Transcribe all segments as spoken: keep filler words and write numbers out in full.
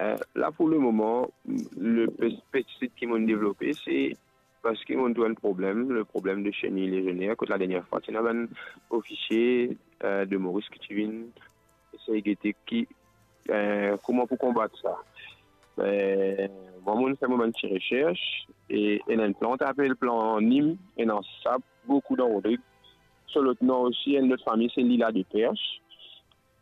Euh, la, pour le moment, le pes-, pestisid ki mo'nn devlope, se parski mo'nn trouv enn problem, le problem de chenille légionnaire, kot la dernier fwa, ti ena bann ofisie, euh, de Moris ki ti vinn esey gete ki, euh, kouma pou konbat sa. Euh, mwa, mo'nn fer mo bann ti resers, e ena enn plant apel plant nim, ena sa boukou dan Rodrig. So lot nom osi, enn lot fami, se lila de Perche.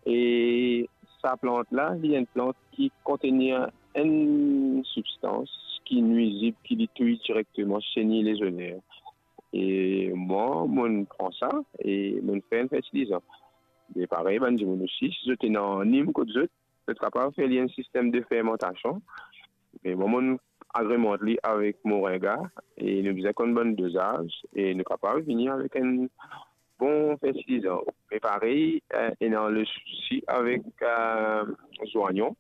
E sa plant la, li enn plant ki kontenir enn sibstans ki nwizib, ki li touy direkteman chenille légionnaire. E mwa, mo'nn pran sa e mo'nn fer enn fertilizan. Me parey, bann dimoun osi, si zot ena nim kot zot, zot kapav fer li enn sistem de fermantasion. Me mwa, mo'nn agremant li avek moringa e nou bizin konn bann dozaz e nou kapav vini avek enn bon fertilizan. Me parey, eh, ena le sousi avek, eh, zwayon.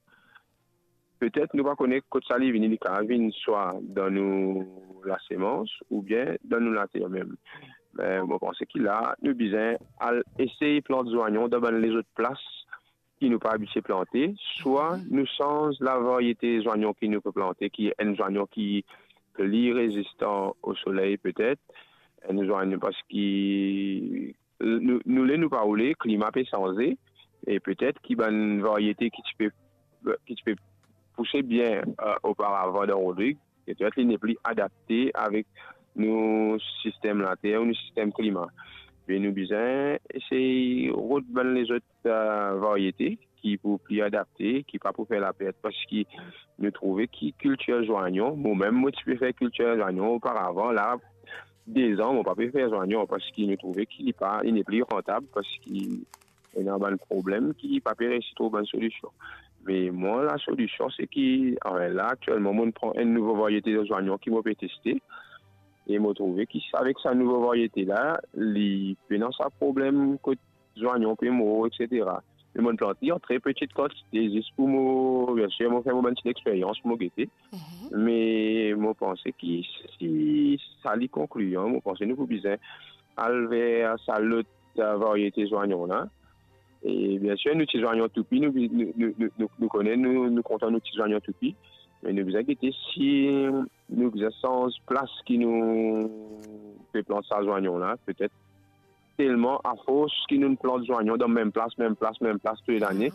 Petet nou pa kone kot sa li vini, li kapav vinn swa dan nou lasemans oubien dan nou later mem. Me mo panse ki la, nou bizin al esey plant zwayon dan bann lezot plas ki nou pa abitie plante, swa nou sanz lavarite zwayon ki nou pe plante, ki enn zwayon ki pli rezistan o soley petet, enn zwayon parski nou, nou le nou pa oule, klima pe sanze, e petet ki bann varite ki ti pe, ki ti pe pouse bien, eh, oparavan dan Rodrig, petet li nepli adapte avek nou sistem later ou nou sistem klima. Me nou bizin esey rod bann lezot, eh, varite ki pou pli adapte, ki pa pou fer lapert, parski nou trouve ki kiltir zwayon, mo mem mo ti pe fer kiltir zwayon oparavan, la, dezan mo pa pe fer zwayon, parski nou trouve ki li pa, li nepli rantab, parski ena bann problem ki pa pe resi trouv bann solision. Me mwa, lasolision se ki, anfin, la, aktielman, mo'nn pran enn nouvo varite zwayon ki mo pe teste, e mo trouve ki avek sa nouvo varite la, li pena sa problem kot zwayon pe mor, et cetera. Me mo'nn plant li an tre peti kantite, zis pou mo, biensir, mo fer mo bann ti lexperyans pou mo gete. Me mo panse ki si sa li konklian, mo panse nou pou bizin al ver sa lot, eh, varite zwayon la. E biensir, nou ti zwayon toupi, nou, nou, nou, nou, nou, nou kone, nou, nou kontan nou ti zwayon toupi. Me nou bizin gete si nou bizin sanz plas ki nou pe plant sa zwayon la, petet telman afors ki nou plant zwayon dan mem plas, mem plas, mem plas tou le lane,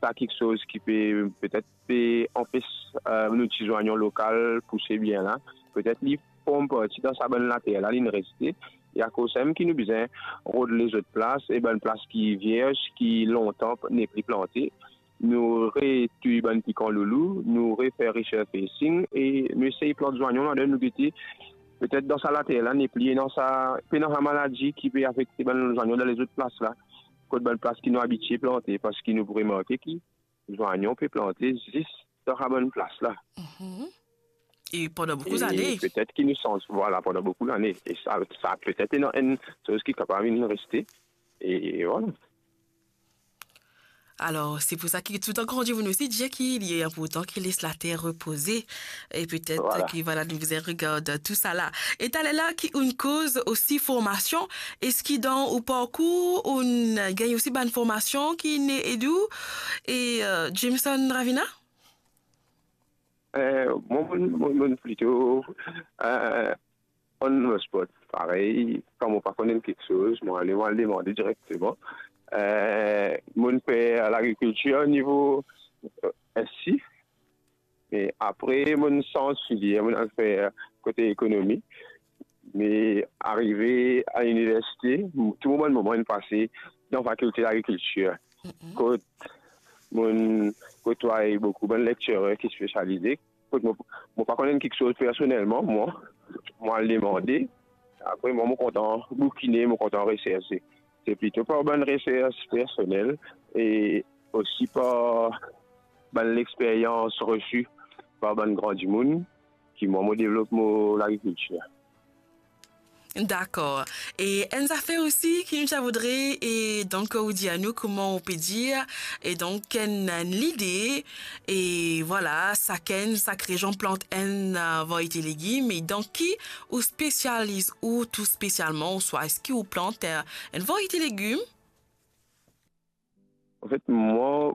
sa kiksoz ki pe, petet pe anpes, eh, nou ti zwayon lokal pouse bien la. Petet li form parti dan sa bann later la, li'nn reste. E akoz sa mem ki nou bizin rod lezot plas, e bann plas ki vierz, ki lontan nepli plante, nou retouy bann pikan loulou, nou refer resurfacing e nou esey plant zwayon ladan, nou gete petet dan sa later la nepli ena sa, pena sa maladi ki pe afekte bann zwayon dan lezot plas la. Kot bann plas ki nou abitie plante, parski nou pou remarke ki zwayon pe plante zis dan sa bann plas la. E pandan boukou zane. Petet ki nou sanz, vwala, pandan boukou lane. E sa, sa petet ena enn soz ki kapav vinn reste. E vwala. Alor, se pou sa ki toutan kan dimoun osi dir ki li inportan ki les later repoze. E petet ki, vwala, nou bizin regard tou sa la. E taler la ki ou'nn koz osi formasion, eski dan ou parkour ou'nn gagn osi bann formasion ki'nn ed ou? E, eh, Jameson Ravina? Eh, mwa, mo, mo, mo plito, eh, on the spot. Parey, kan mo pa konn enn kiksoz, mo ale, mo al demande direkteman. Eh, mo'nn fer lagrikiltir nivo, eh, S C. Me apre, mo'nn sanz filier, mo'nn al fer kote ekonomi. Me arive a liniversite, tou mo bann moman inn pase dan fakilte lagrikiltir. Kot mo'nn kotway boukou bann lecturer ki spesialize. Kot mo, mo pa konn enn kiksoz personelman, mwa, mo al demande. Apre, mwa, mo kontan boukine, mo kontan reserse. Se plito par bann resers personel e osi par bann lexperyans resi par bann gran dimoun ki mwa, mo devlop mo lagrikiltir. Dakor. E enn zafer osi ki nou ti a voudre, e donk, ou dir anou kouma ou pe dir, e donk, enn, enn lide, e vwala, sakenn, sak rezon plant enn, eh, varite legim, e dan ki ou spesializ ou tou spesialman, ouswa eski ou plant, eh, enn varite legim? Anfet, mwa,